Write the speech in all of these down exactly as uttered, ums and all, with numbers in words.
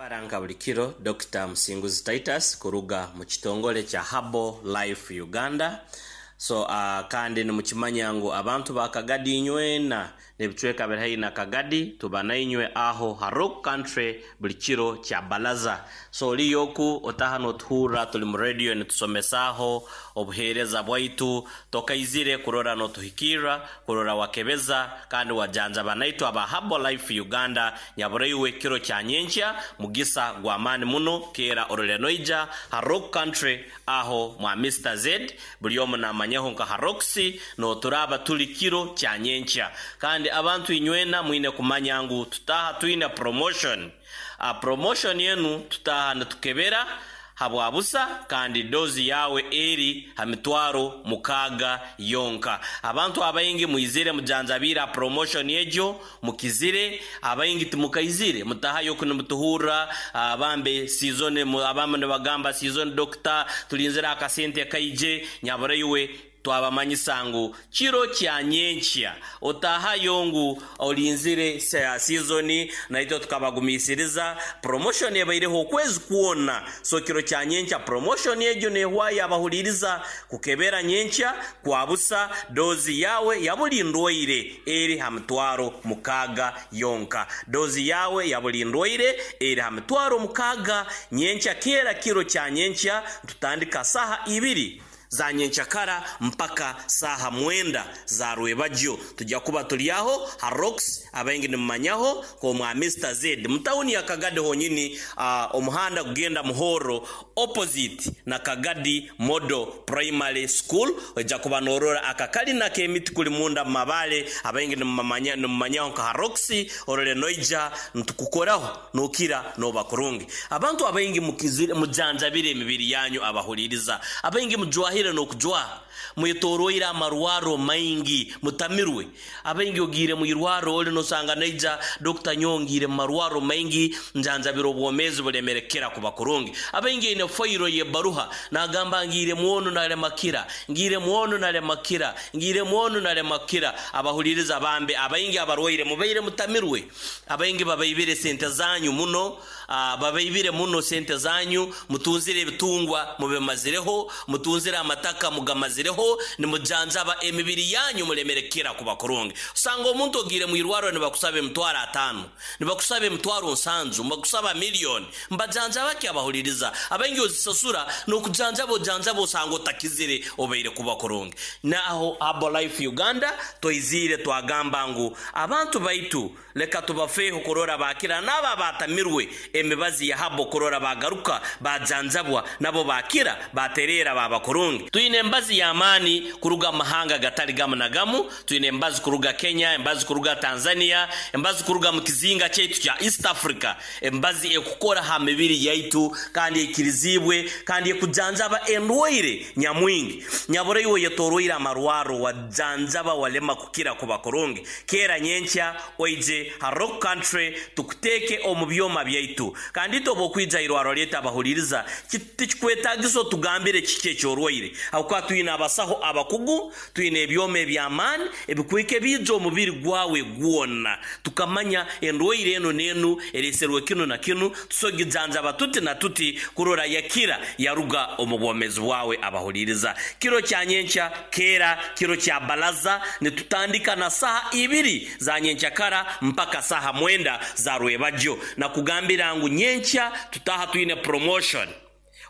Baranka buli kiro Doctor Musinguzi Titus kuruga mu kitongole kya Herbal Life Uganda. So uh, kandi nimukimanya ngu abantu ba Kagadi inywena n'ebicweka biri haihi na Kagadi, tuba nainywe aho ha Rock Country buli kiro kya balaza. So oliyoku otaha n'otuhurra, tuli mu radio nitusomesaaho obuheereza bwaitu, tokaizire kurora n'otuhikirra, kurora wakebeza kandi wajanjaba naitwe aba Herbal Life Uganda. Nyaburaiwe, kiro kya nyenkya mugisa gw'amaani muno, keera orole noija ha Rock Country aho mwa Mister Z, buli omu namanyaho nka ha Roxy, noturaba tuli kiro kya nyenkya. Kandi abantu inywena mwine kumanya ngu tutaha twine promotion. uh, promotion yenu tutaha nitukebera habwa busa, kandi dozi yawe eri ha mitwaro mukaaga yonka. Abantu abaingi mwizire mujanjabira promotion egyo mukizire, abaingi timukaizire, mutahayo kunimutuhurra abambe season, abambe nibagamba season doctor, tulinzire akasente kaije. Nyaburaiwe, twabamanyisa ngu kiro kya nyenkya otahayo ngu olinzire season, naitwe tukabagumisiriza. Promotion ebaireho okwezi kwona, so kiro kya nyenkya promotion egyo nehwayo abahuliriza kukebera nyenkya kwa busa, dozi yawe ya buli ndwaire eri ha mitwaro mukaaga yonka. Dozi yawe ya buli ndwaire eri ha mitwaro mukaaga. Nyenkya kera kiro kya nyenkya tutandika saha ibiri za nyenkyakara mpaka saha mwenda za rwebagyo, tujya kuba tuli aho ha Rocks, abaingi nimumanyaho ko mwa Mister Z, mutawuni ya Kagadi honyini, uh, omuhanda kugenda Muhoro, opposite na Kagadi Model Primary School. Ojja kuba norora akakali na kemiti kuli munda mabale, abaingi nimumanya nimumanyaho nka ha Roxy. Orole noija ntukukoraho nokira noba kurungi. Abantu abaingi mukizire mujanjabire emibiri yanyu. Abahuliriza, abaingi mujwahire n'okujwaha, mwetoroire amarwaro maingi, mutamirwe. Abaingi ogiire mu irwaro oli nosanga naija, Doctor, nyongiire mu marwaro maingi, njanjabira obwomezi bulemerekera kuba kurungi. Abaingi ine foiro yebaruha, nagamba ngiire mwono nalemakira, ngiire mwono nalemakira, ngiire mwono nalemakira. Abahuliriza bambe, abaingi abarwaire mubaire mutamirwe, abaingi babaibire sente zanyu muno, uh, babaibire muno sente zanyu, mutunzire ebitungwa mubemazireho, mutunzire amataka mugamazireho, nimujanjaba emibiri yanyu mulemerekera kuba kurungi. Usanga omuntu ogiire mu irwaro nibakusaba emitwaro atano, nibakusaba emitwaro nsanju, nibakusaba miliyoni. Mbajanjaba ki abahuliriza? Abaingi ozisasura n'okujanjaba ojanjaba osanga otakizire obaire kuba kurungi. Naho Herbal Life Uganda toizire twagamba ngu abantu baitu leka tubafeeho kurora bakira, n'abo batamirwe emibazi ya habo kurora bagaruka bajanjabwa nabo bakira baterera baba kurungi. Twine embazi y'amaani kuruga mahanga gatali gamu na gamu. Twine embazi kuruga Kenya, embazi kuruga Tanzania, embazi kuruga mu kizinga kyaitu kya East Africa, embazi ekukora ha mibiri yaitu kandi eikirizibwe kandi ekujanjaba endwaire nyamwingi. Nyaburaiwe yetorwaire amarwaro, wajanjaba walema kukira kuba kurungi, kera nyenkya oije ha Rock Country tukuteeke omu byoma byaitu. Kandi itoba okwija irwaro lyaitu, abahuliriza, tikikwetagisa otugambire kiki ekyorwaire, habwokuba twine abasaho abakugu, twine ebyoma eby'amaani ebikwika ebiija omubiri gwawe gwona, tukamanya endwaire enu n'enu ereserwe kinu na kinu, tusogijanjaba tuti na tuti kurora yakira yaruga omu bwomezi bwawe. Abahuliriza, kiro kya nyenkya kera kiro kya balaza, nitutandika na saha ibiri za nyenkyakara mpaka saha mwenda za rwebagyo. Nakugambira ngu nyenkya tutaha twine promotion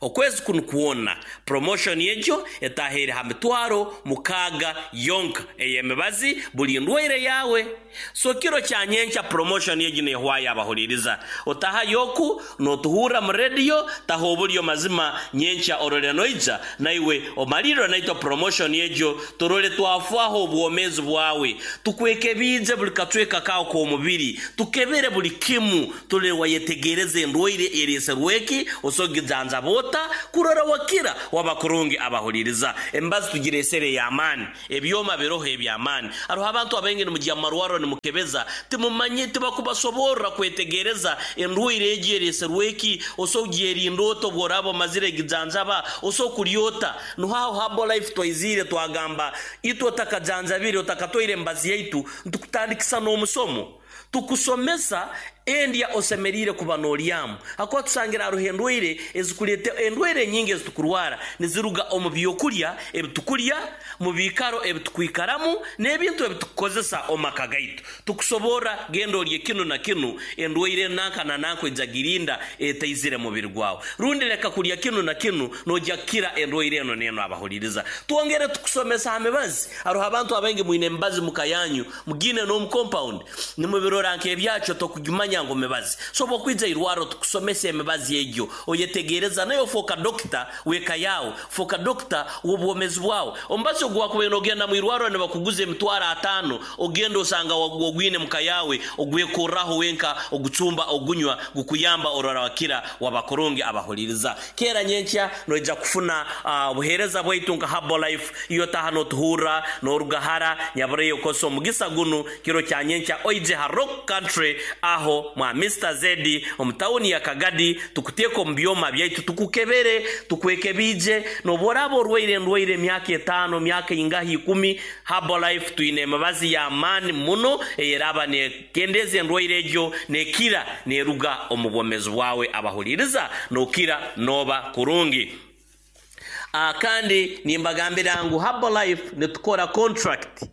okwezi kuno kuwona. Promotion egyo etahere ha mitwaro mukaaga yonka ey'emibazi buli ndwaire yawe. So kiro kya nyenkya promotion egi nehwayo. Abahuliriza, otaha yoku notuhurra mu radio, taha obulyo mazima nyenkya orole noija naiwe omalirra naitwe promotion egyo, turole twafwaho obwomezi bwawe, tukwekebiije buli kacweka kawe k'omubiri, tukebere buli kimu, turole wayetegereza endwaire ereserweki, osogijanjaba ota kurora wakira waba kurungi. Abahuliriza, embazi tugira esere y'amaani, ebyoma biroho eby'amaani. Hariho abantu abaingi nimujya mu marwaro nimukebeza, timumanye, tibakubasoborra kwetegereza endwaire egi ereserweki, osogyerinda ota obworaba omazire gijanjaba, osokuryota nuho. Aho Herbal Life twaizire twagamba itwe otakajanjabire, otakatwaire embazi yaitu, ntukutandikisa n'omusomo tukusomesa. Endya osemerire kuba n'olyamu, hakuba tusangira haroho endwaire ezikuleeta endwaire enyingi ezitukurwara niziruga omu byokulya ebitukulya, mu biikaro ebitukwikaramu, n'ebintu ebitukukozesa omu maka gaitu. Tukusoborra genda olye kinu na kinu, endwaire nanka na nanka oija girinda etaizire mubiri gwawe, rundi leka kulya kinu na kinu noija kukira endwaire eno n'eno. Abahuliriza, twongere tukusomesa ha mibazi. Haroho abantu abaingi mwine emibazi muka yanyu, mugine n'omu compound, nimubirora nk'ebyakyo, tokugimanya ngu mibazi. So bwokwija irwaro tukusomesa emibazi egyo, oyetegereza nayo, ofoka dokita weka yawe, foka dokita w'obwomezi bwawe. Omubazi ogu wakubaire nogenda mu irwaro nibakuguza emitwaro ataano, ogenda osanga ogwine muka yawe, ogwekorraho wenka, ogucumba, ogunywa, gukuyamba, orora wakira wabakurungi. Abahuliriza, kera nyenkya noija kufuna obuheereza uh, bwaitu nka Herbal Life. Iyo taha notuhurra n'orugahara nyabureyo, okozesa omugisa gunu kiro kya nyenkya, oije ha Rock Country aho mwa Mister Zedi omu tawuni ya Kagadi, tukuteeka omu byoma byaitu, tukukebere, tukwekebije. Nobu oraaba orwaire endwaire emyaka etaano, myaka ingahi, ikumi, Herbal Life twine emibazi y'amaani muno eyeraba nekendeza endwaire egyo, nekira neruga omu bwomezi bwawe. Abahuliriza, nokira noba kurungi. Uh, kandi nimbagambira ngu Herbal Life nitukora contract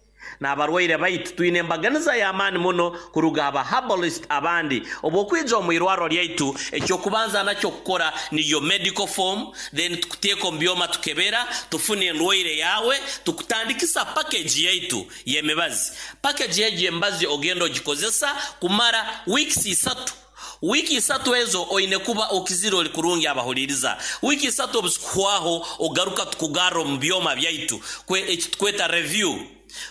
n'abarwaire baitu, twine embaganiza y'amaani muno kuruga aba herbalist abandi. Obwokwija omu irwaro lyaitu, ekyokubanza nakyo kukora niyo medical form, then tukuteeka omu byoma, tukebera, tufune endwaire yawe, tukutandikisa package yaitu y'emibazi. Package egyo emibazi ogenda ogikozesa kumara weeks isatu. Wiki isatu ezo oine kuba okizire, oli kurungi. Abahuliriza, wiki isatu obuzikuhwaho, ogaruka tukugarra omu byoma byaitu, eki tukweta review,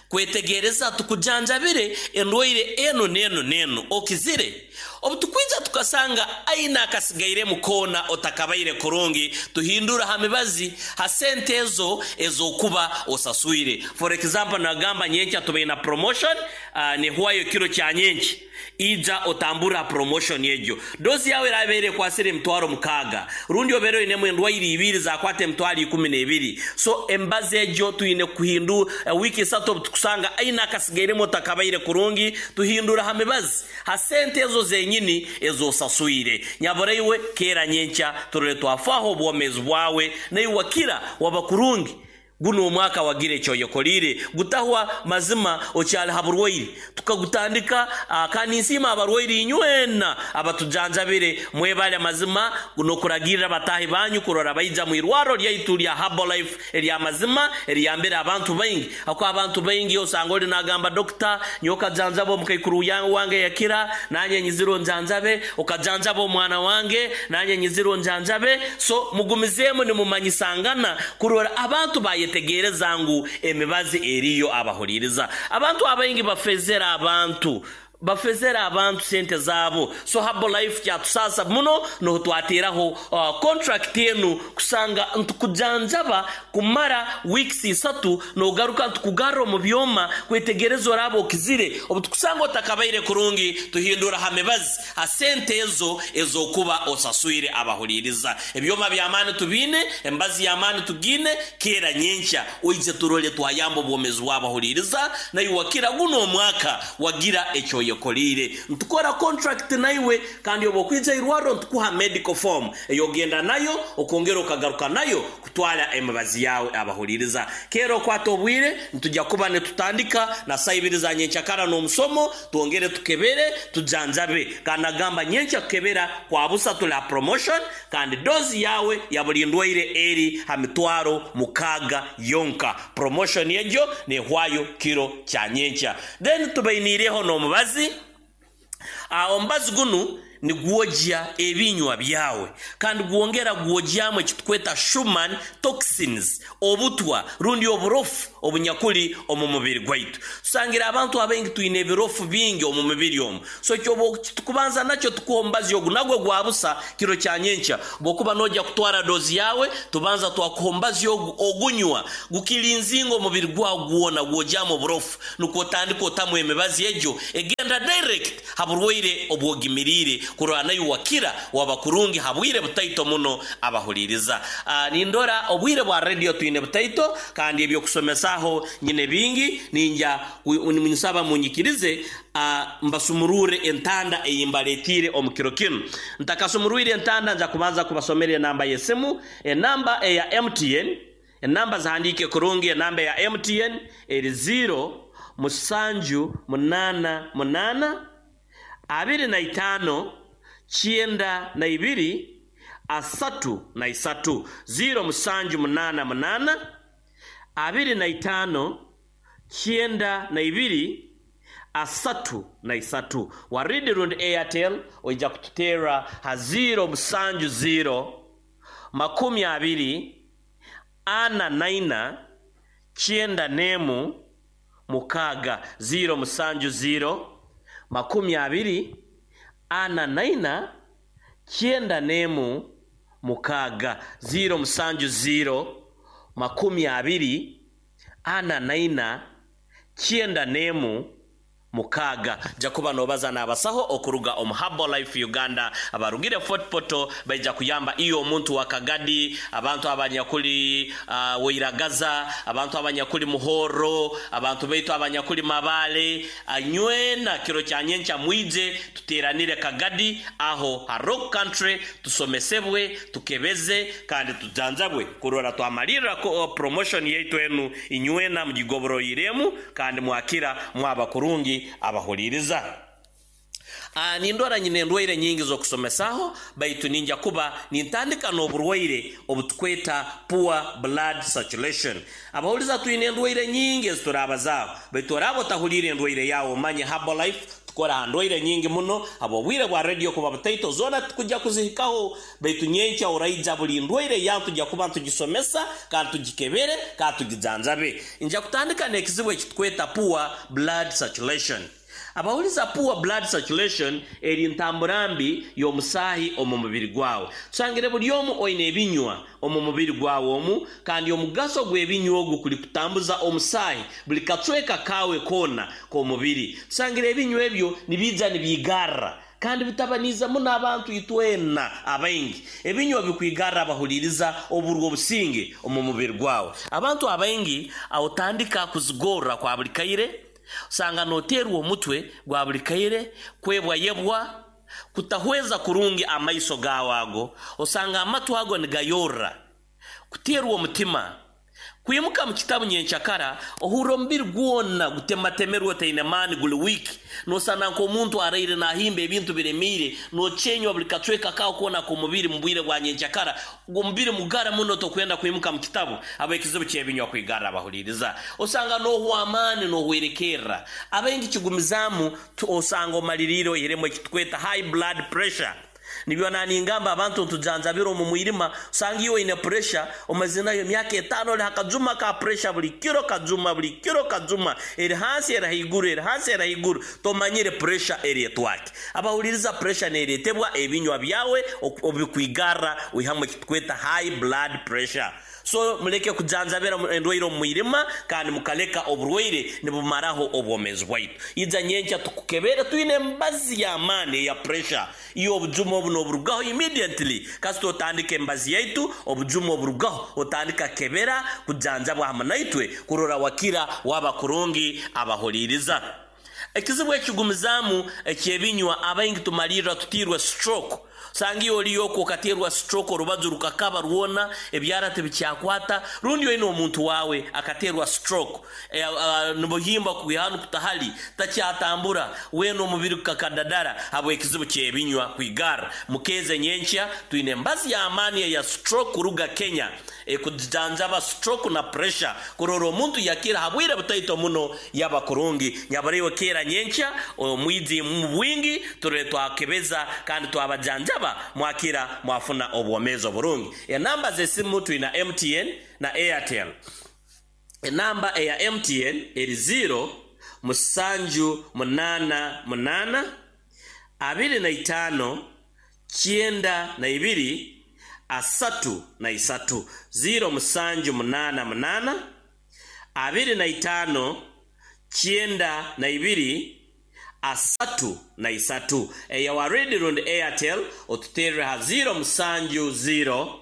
kwetegereza tukujanjabire endwaire eno neno neno okizire. Obu tukwija tukasanga aina akasigairemu koona otakabaire kurungi, tuhindura ha mibazi ha sente ezo ezokuba osaswire. For example, nagamba nyenkya tubaine na promotion, uh, nehwayo kiro kya nyenkya, ija otambura promotion egyo. Dozi yawe erabeire ekwasire emitwaro mukaaga, rundi obeere oinemu endwaire ibiri zakwata emitwaro ikumi n'ebiri. So embazi egyo twine kuhindu uh, wiki isatu obu tukusanga aina akasigairemu otakabaire kurungi, tuhindura ha mibazi ha sente ezo zenyini ezosaswire. Nyabureiwe, kera nyenkya turore twafaho obwomezi bwawe, naiwe wakira waba kurungi. Guno omwaka wagira ekyo oyekolire, gutahwa mazima okyali ha burwaire tukagutandika. uh, kandi nsiima abarwaire inywena abatujanjabire, mwebale mazima nokuragirira batahi banyu kurora baija mu irwaro lyaitu lya Herbal Life eryamazima eriyambire abantu baingi. Ako abantu baingi osanga oli nagamba, "Dokita, nyowe okajanjaba omukaikuru wange yakira, nanye nyiziro njanjabe. Okajanjaba omwana wange, nanye nyiziro njanjabe." So mugumizeemu nimumanyisangana kurora abantu bayetegereza ngu emibazi eriyo. Abahuliriza, abantu abaingi bafezera abantu bafezera abantu sente zabo. So Herbal Life kyatusasa muno noho twateraho uh, contract enu, kusanga ntukujanjaba kumara weeks isatu, nogaruka ntukugarra omu byoma kwetegereza oraba okizire. Obu tukusanga otakabaire kurungi, tuhindura ha mibazi ha sente ezo ezokuba osaswire. Abahuliriza, ebyoma by'amaani tubiine, embazi y'amaani tugine. Kera nyenkya oije turole twayamba obwomezi bw'abahuliriza, naiwe wakira guno omwaka wagira ekyo oyekolire. Ntukora contract naiwe, kandi oba okwija irwaro ntukuha medical form eyogenda nayo, okongera okagaruka nayo kutwala emibazi yawe. Abahuliriza, kera okwata obwire, ntujya kuba nitutandika na saa ibiri za nyenkyakara n'omusomo, twongere tukebere, tujanjabe. Kandi nagamba nyenkya kukebera kwa busa, tuli ha promotion, kandi dozi yawe ya buli ndwaire eri ha mitwaro mukaaga yonka. Promotion egyo nehwayo kiro kya nyenkya. Then tubainiireho n'omubazi. uh, omubazi gunu nigwogya ebinywa byawe, kandi gwongera gwogyamu ekitukweta human toxins, obutwa rundi oburofu obunyakuli omu mubiri gwaitu. Tusangira abantu abaingi twine ebirofu bingi omu mubiri omu. So kyoba tukubanza nakyo tukuha omubazi ogu, nagwo gwa busa. Kiro kya nyenkya bwokuba nojya kutwara dozi yawe, tubanza twakuha omubazi ogu, ogunywa gukilinzinga omubiri gwawe gwona, gwogyamu oburofu, nukwo otandika otamu emibazi egyo egenda direct ha burwaire obwogimiriire. Kurora nayo wakira waba kurungi habwire butaito muno abahuliriza. Uh, nindora obwire bwa radio twine butaito, kandi ebyokusomesaho nyine bingi. Ninja munyisaba munyikirize uh, mbasumurure entanda eyimbaletire omu kiro kinu. Ntakasumurwire entanda, nja kubanza kubasomera enamba y'esimu, enamba eya M T N. Enamba zahandike kurungi. Enamba ya M T N eri zero musanju munana munana abiri na itano kyenda na ibiri asatu na isatu. Zero musanju munana munana abiri na itano kyenda na ibiri asatu na isatu. Waridi rundi Airtel oija kututera ha zero musanju zero makumi abiri ana naina kyenda nemu mukaga. Zero musanju zero makumi abiri ana naina kyenda nemu mukaga. Zero musanju zero makumi abiri ana naina kyenda nemu mukaga. Jakuba nobaza n'abasaho okuruga omu Herbal Life Uganda abarugire Fort Portal, baija kuyamba iyo omuntu wa Kagadi, abantu abanyakuli uh, Weiragaza, abantu abanyakuli Muhoro, abantu baitu abanyakuli Mabale. Anywena kiro kya nyencha mwije tuteranire Kagadi aho ha Rock Country, tusomesebwe, tukebeze kandi tujanjabwe kurora twamalira ko promotion yaitu enu inywena mugigoboro iremu kandi mwakira mwaba kurungi abahuliriza. Ah, nindwara nyine endwaire nyingi zokusomesaho, baitu ninja kuba nintandika n'oburwaire obutukweta poor blood circulation. Abahuliza twine endwaire nyingi eziturabazaho, baitu oraba otahulire endwaire yawe omanye Herbal Life tukora ndwaire nyingi muno. Abo bwire bwa radio kuba butaito zona tukujja kuzihikaho, baitu nyencha oraija buli ndwaire yantu tujja kuba tugisomesa kandi tugikebere kandi tugijanjabe. Nja kutandika n'ekizibu ekitukweta poor blood circulation. Abawuliza poor blood circulation eri ntamburambi y'omusaahi omu mubiri gwawe. Tusangire buli omu oine ebinywa omu mubiri gwawe omu, kandi omugaso gw'ebinywa ogwo kuli kutambuza omusaahi buli kacweka kawe koona k'omubiri. Tusangire ebinywa ebyo nibiija nibigarra kandi bitabaniza muno abantu itwena abaingi. Ebinywa bikwigarra abahuliriza oburwo obusinge omu mubiri gwawe. Abantu abaingi awotandika kuzigorra kwa buli kaire, usanga noterwa omutwe gwa buli kaire, kwebwa yebwa, kutahweza kurungi amaiso gawe ago, osanga amatu ago nigayorra, kuterwa omutima, kwimuka mu kitabu nyenchakara ohurra omubiri gwona gutematemerwe otaine maani guli wiki, nosana nk'omuntu araire nahimba ebintu biremiire, nochenywa buli kacweka kawe koona k'omubiri mu bwire bwa nyenchakara, omubiri mugara muno tokwenda kwimuka mu kitabu abekizibu ky'ebinywa kwigarra abahuliriza. Osanga nohwa amaani nohwerekerra. Abaingi kigumizaamu osanga omaliriire oihiremu ekitukweta high blood pressure. Nibyo naningamba abantu ntujanjabira omu mwirima, usanga iyo ine pressure omazina yo myaka etano ori hakajuma ka pressure buli kiro kajuma buli kiro kajuma, eri hansi eri haiguru eri hansi eri haiguru, tomanyire pressure eri etwake. Abahuliriza pressure neretebwa ebinywa byawe obikwigarra oihamu ekitukweta high blood pressure. So muleke kujanjabira endwaire omu mwirima kandi mukaleka oburwaire nibumaraho obwomezi bwaitu. Ija nyencha tukukebere twine embazi y'amaani eya pressure iyo obujuma obu noburugaho immediately. Kasita otandika embazi yaitu obujuma oburugaho otandika kebera kujanjabwa hamwe naitwe kurora wakira waba kurungi abahuliriza. Ekizibu ekigumizaamu ekyebinywa abaingi tumalirra tutirwe stroke. Sangi oliyo okaterwa stroke orubazu rukakaba rwona ebyara tebikyakwata, rundi oine omuntu wawe akaterwa stroke e, uh, nibuhimba kuhanu kutahali takyatambura wena omubiri kakadadara habwe ekizibu kyebinywa kwigara. Mukeze nyenkya twine embazi ya amani ya stroke kuruga Kenya ekujanjaba stroke na pressure kurora omuntu yakira habwire butaito muno yaba kurungi. Nyabareyo kera nyenkya omwiji mu bwingi turere twakebeza kandi twabajanjaba mwakira mwafuna obwomezo burungi. Enamba z'esimu twina M T N na Airtel. Enamba eya M T N eri zero musanju munana munana abiri na itano kyenda na ibiri asatu na isatu. Zero musanju munana munana abiri na itano kyenda na ibiri asatu na isatu. Eya Waridi rundi Airtel otuterere ha ziro musanju ziro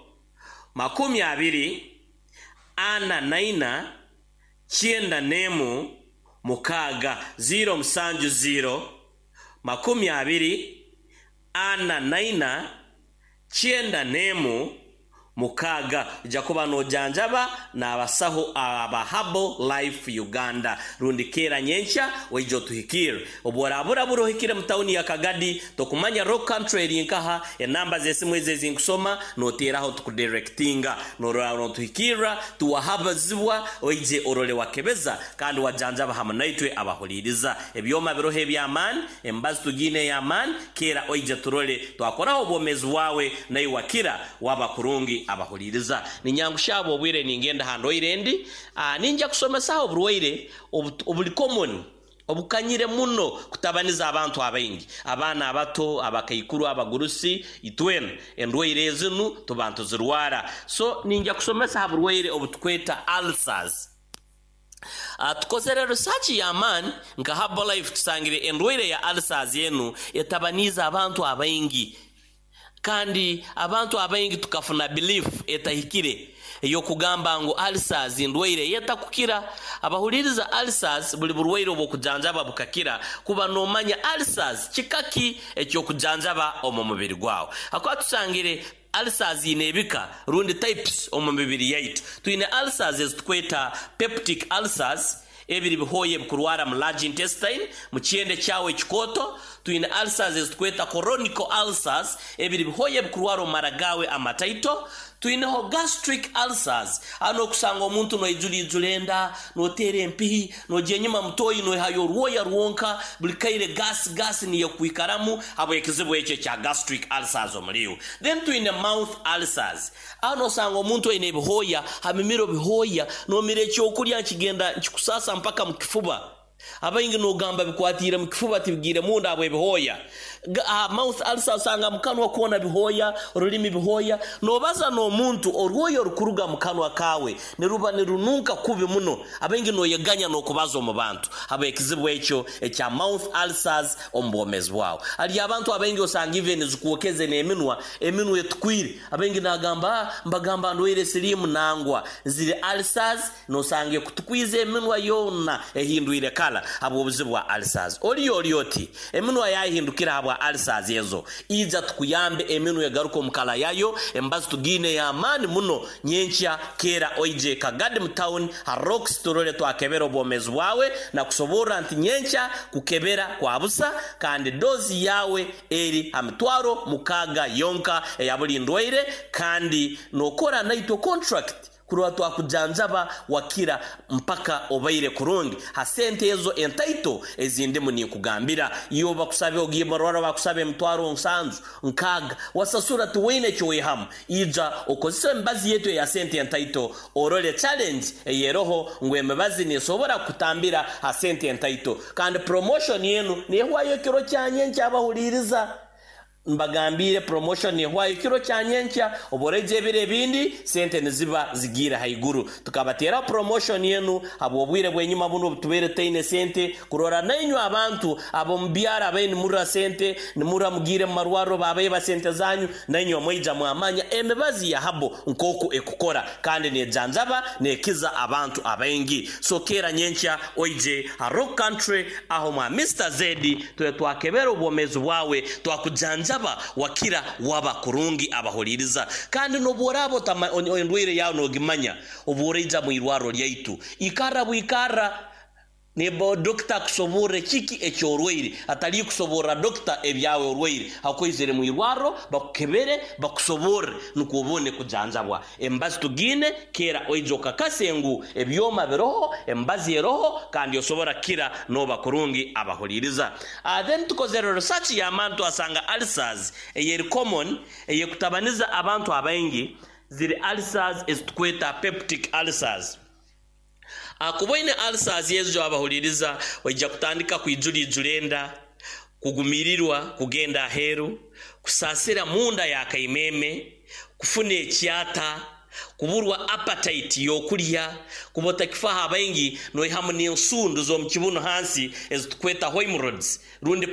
makumi abiri ana naina kyenda nemu mukaaga, ziro musanju ziro makumi abiri ana naina kyenda nemu mukaaga. Ojja kuba nojanjaba n'abasaho aba Herbal Life Uganda rundi keera nyenkya oija otuhikire. Obworaburabura ohikire mu tawuni ya Kagadi, tokumanya Rock Country eri nkaha, enamba z'esimu ezo ezinkusoma noteeraho tukudirectinga, norora notuhikirra, tuwahabazibwa oije orole wakebeza kandi wajanjaba hamu naitwe abahuliriza. Ebyoma biroho eby'amaani, emibazi tugiine ey'amaani, keera oije turole twakoraho obwomeezi bwawe naiwe wakira waba kurungi abahuliriza. Ninyangushabo obwire ningenda handwaire endi, uh, ninja kusomesaho oburwaire obuli common obukanyire muno kutabaniza abantu abaingi, abaana abato, abakaikuru, abagurusi, itwena endwaire ezinu tubantu zirwara. So ninja kusomesa ha burwaire obutukweta ulcers. Uh, tukozere research y'amaani nka Herbal Life, tusangire endwaire ya ulcers enu etabaniza abantu abaingi, kandi abantu abaingi tukafuna belief etahikire ey'okugamba ngu ulcers ndwaire yetakukira. Abahuliriza, ulcers buli burwaire obw'okujanjaba bukakira, kuba nomanya ulcers kikaki ekyokujanjaba omu mubiri gwawe. Hakuba tusangire ulcers ine ebika rundi types omu mibiri yaitu. Twine ulcers ezitukweta peptic ulcers, ebiri bihoye bikurwara mu large intestine, mu kyende kyawe ekikoto. Twine ulcers ezitukweta chronic ulcers, ebiri bihoye bikurwara omu mara gawe amataito. Twineho gastric ulcers, hano okusanga omuntu noijulijula enda, noteera empihi, nogya enyuma mutoyi noihayo orwoya rwonka, buli kaire gas gas niyo kwikaramu habw'ekizibu ekyo ekya gastric ulcers omuriwe. Then twine mouth ulcers, hano osanga omuntu aine ebihoya hamimiro bihoya, nomira ekyokurya nkigenda nkikusasa mpaka mu kifuba. Abaingi nogamba bikwatire mu kifuba tibigire munda habw'ebihoya. Uh, mouth ulcer osanga mukanwa kwona bihoya, orulimi bihoya, nobaza n'omuntu orwoya orukuruga mukanwa kawe niruba nirununka kubi muno. Abaingi noyeganya n'okubaza omu bantu habw'ekizibu ekyo ekya mouth ulcers omu bwomezi bwawe. Hali abantu abaingi osanga even zikuwokeze n'eminwa, eminwa etukwire. Abaingi nagamba mbagamba ndwaire sirimu, nangwa ziri ulcers, nosanga ekutukwiza eminwa yona ehindwire kala habw'obuzibu bwa ulcers. Oli oli oti eminwa yahindukira habwa ulcers ezo, ija tukuyambe eminwa egaruka omukala yayo. Embazi tugiine y'amaani muno nyenkya, keera oije Kagadi mu town ha Rocks turole twakebera obwomezi bwawe na kusoborra nti nyenkya kukebera kwa busa, kandi dozi yawe eri ha mitwaro mukaaga yonka eya buli ndwaire, kandi nokora naitwe contract kurwa twakujanjaba wakira mpaka obaire kurungi ha sente ezo entaito ezindimu ninkugambira. Iyo bakusabe ogiye marwara bakusabe emitwaro nsanju nkaga wasasura tuweine ekyowehamu, ija okozesa emibazi yetu eya sente entaito orole challenge eyeroho ngu emibazi nesobora kutambira ha sente entaito. Kandi promotion yenu nehwayo ekiro kyanyenkya abahuliriza, mbagambire promotion nehwayo ekiro kyanyenkya, oboreje ebiro ebindi sente niziba zigiire haiguru. Tukabatera promotion yenu habw'obwire bw'enyuma buno obutubeire taine sente kurora nainywe abantu ab'omubyaro abaine nimurra sente nimurra mugiire mu marwariro babaeba sente zanyu, nainywe mwaija mwamanya emibazi ya habo nk'oku ekukora kandi nejanjaba nekiza abantu abaingi. So keera nyenkya oije ha Rock Country aho mwa Mister Zedi tuwe twakebera obwomezi bwawe twakujanjaba wakira waba kurungi abahuliriza. Kandi nobworaba endwaire yawe nogimanya obworaija mu irwaro lyaitu, ikara bwikara nebo dokita kusoborra kiki ekyorwaire, atali kusoborra dokita ebyawe orwaire. Hakwizere mu irwaro bakukebere bakusoborre nukwo obone kujanjabwa. Embazi tugiine keera oije okakase ngu ebyoma biroho, embazi eroho, kandi osobora kira noba kurungi abahuliriza. Uh, then tukozere research y'amaani twasanga ulcers eyeri common eyekutabaniza abantu abaingi ziri ulcers ezitukweta peptic ulcers. Akuboine ulcers ezo abahuliriza waija kutandika kwijulijula enda, kugumirirwa kugenda aheru, kusasira munda ya kaimeme, kufuna ekyata, Kuburwa appetite y'okulya, kuba otakifaho. Abaingi noihamu n'ensundu z'omu kibuno hansi ezitukweta hemorrhoids rundi.